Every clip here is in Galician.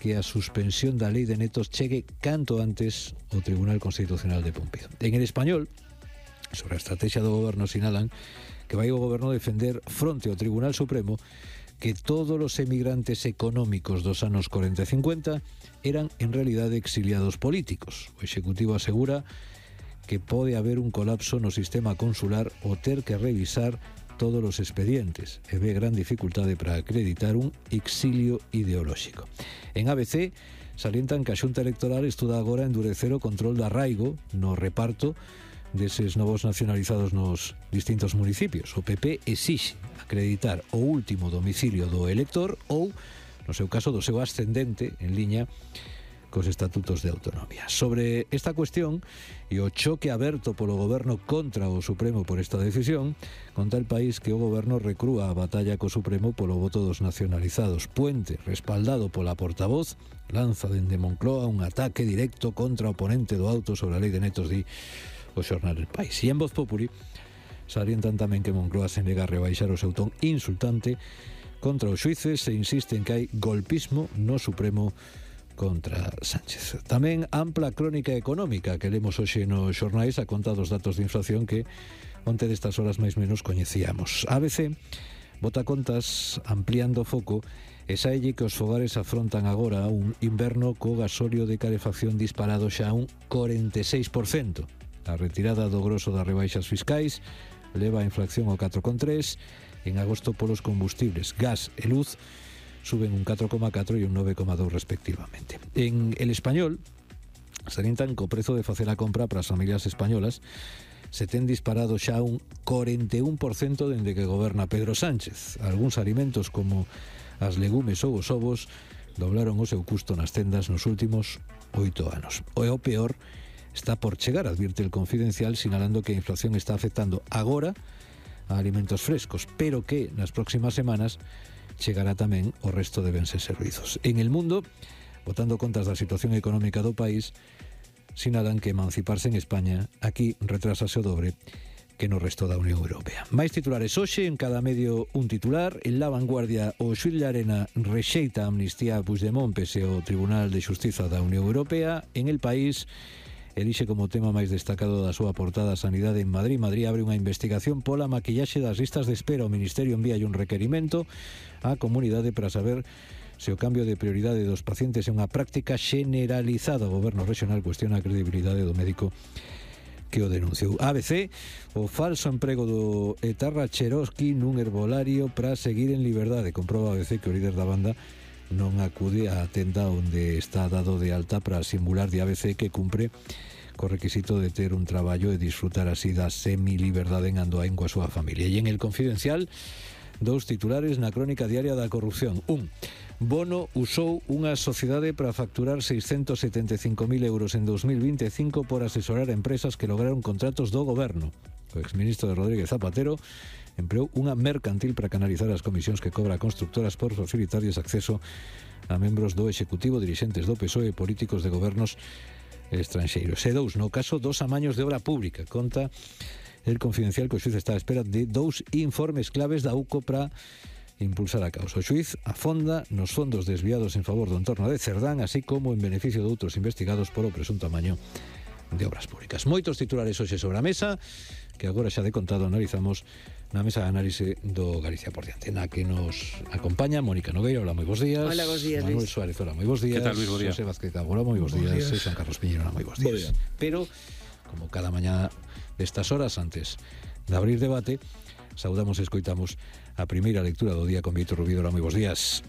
que a suspensión da lei de netos chegue canto antes ao Tribunal Constitucional de Pumpido. En el español, sobre a estrategia do goberno, sinalan que vai o goberno defender fronte ao Tribunal Supremo que todos os emigrantes económicos dos anos 40 e 50 eran en realidade exiliados políticos. O Executivo asegura que pode haber un colapso no sistema consular ou ter que revisar todos os expedientes e ve gran dificultade para acreditar un exilio ideolóxico. En ABC salientan que a Xunta Electoral estuda agora endurecer o control do arraigo no reparto deses novos nacionalizados nos distintos municipios. O PP exixe acreditar o último domicilio do elector ou, no seu caso, do seu ascendente en liña cos estatutos de autonomía. Sobre esta cuestión e o choque aberto polo goberno contra o Supremo por esta decisión, conta el país que o goberno recrúa a batalla co Supremo polo voto dos nacionalizados. Puente, respaldado pola portavoz, lanza dende Moncloa un ataque directo contra o ponente do auto sobre a lei de netos, di o xornal El País. E en Voz Populi salientan tamén que Moncloa se nega a rebaixar o seu ton insultante contra os xuíces e insiste en que hai golpismo no Supremo contra Sánchez. Tamén ampla crónica económica que lemos hoxe nos xornais a conta dos datos de inflación que onte destas horas máis menos coñecíamos. ABC bota contas ampliando o foco e saelle que os fogares afrontan agora un inverno co gasóleo de calefacción disparado xa un 46%. A retirada do grosso das rebaixas fiscais leva a inflación ao 4,3%. En agosto polos combustibles, gas e luz suben un 4,4 e un 9,2 respectivamente. En El Español salientan que o prezo de facer a compra para as familias españolas se ten disparado xa un 41% dende que goberna Pedro Sánchez. Algúns alimentos como as legumes ou os ovos doblaron o seu custo nas tendas nos últimos 8 anos. O peor está por chegar, advirte El Confidencial, sinalando que a inflación está afectando agora a alimentos frescos, pero que nas próximas semanas chegará tamén o resto de bens e servizos. En El Mundo, botando contas da situación económica do país, sinalan que emanciparse en España aquí retrasase o dobre que no resto da Unión Europea. Máis titulares hoxe, en cada medio un titular. En La Vanguardia, o xuíz Llarena rexeita a amnistía a Puigdemont pese ao Tribunal de Xustiza da Unión Europea. En El País, elixe como tema máis destacado da súa portada a Sanidade en Madrid. Madrid abre unha investigación pola maquillaxe das listas de espera. O Ministerio envía un requerimento á comunidade para saber se o cambio de prioridade dos pacientes é unha práctica generalizada. O goberno regional cuestiona a credibilidade do médico que o denunciou. ABC, o falso emprego do etarra Cherosky nun herbolario para seguir en liberdade. Comproba ABC que o líder da banda non acude á tenda onde está dado de alta para simular de ABC que cumpre co requisito de ter un traballo e disfrutar así da semi-liberdade en Andoain coa súa familia. E en El Confidencial, dous titulares na crónica diaria da corrupción. Bono usou unha sociedade para facturar 675.000 euros en 2025 por asesorar a empresas que lograron contratos do goberno. O exministro de Rodríguez Zapatero empleou unha mercantil para canalizar as comisións que cobra a constructoras por facilitarlles acceso a membros do Executivo, dirixentes do PSOE e políticos de gobernos estranxeiros. E dous, no caso dos amaños de obra pública, conta El Confidencial que o xuíz está á espera de dous informes claves da UCO para impulsar a causa. O xuíz afonda nos fondos desviados en favor do entorno de Cerdán, así como en beneficio de outros investigados por o presunto amaño de obras públicas. Moitos titulares hoxe sobre a mesa que agora xa de contado analizamos na mesa de análise do Galicia por diante, na que nos acompaña Mónica Nogueira. Hola, moi bons días. Hola, bons días, Manuel Luis. Suárez, hola, moi bons días. Que tal, Luis? Bos días. José Vázquez Cabo, hola, moi bons días. E Juan Carlos Piñero, hola, moi bons días. Pero, como cada mañá destas horas, antes de abrir debate, saudamos e escoitamos a primeira lectura do día con Vítor Rubido. Hola, moi bons días.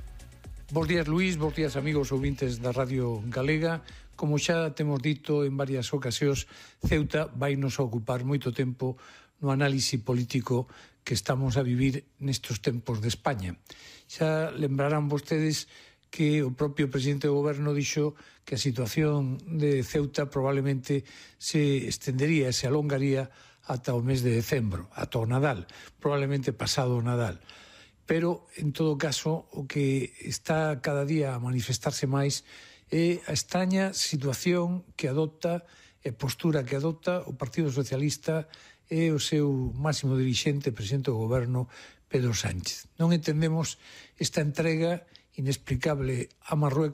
Bos días, Luís, bos días, amigos ouvintes da Radio Galega. Como xa temos dito en varias ocasións, Ceuta vai nos ocupar moito tempo no análise político que estamos a vivir nestes tempos de España. Xa lembrarán vostedes que o propio presidente do goberno dixo que a situación de Ceuta probablemente se estendería e se alongaría ata o mes de decembro, ata o Nadal, probablemente pasado o Nadal. Pero, en todo caso, o que está cada día a manifestarse máis é a extraña situación que adopta e postura que adopta o Partido Socialista e o seu máximo dirixente, presidente do goberno, Pedro Sánchez. Non entendemos esta entrega inexplicable a Marruecos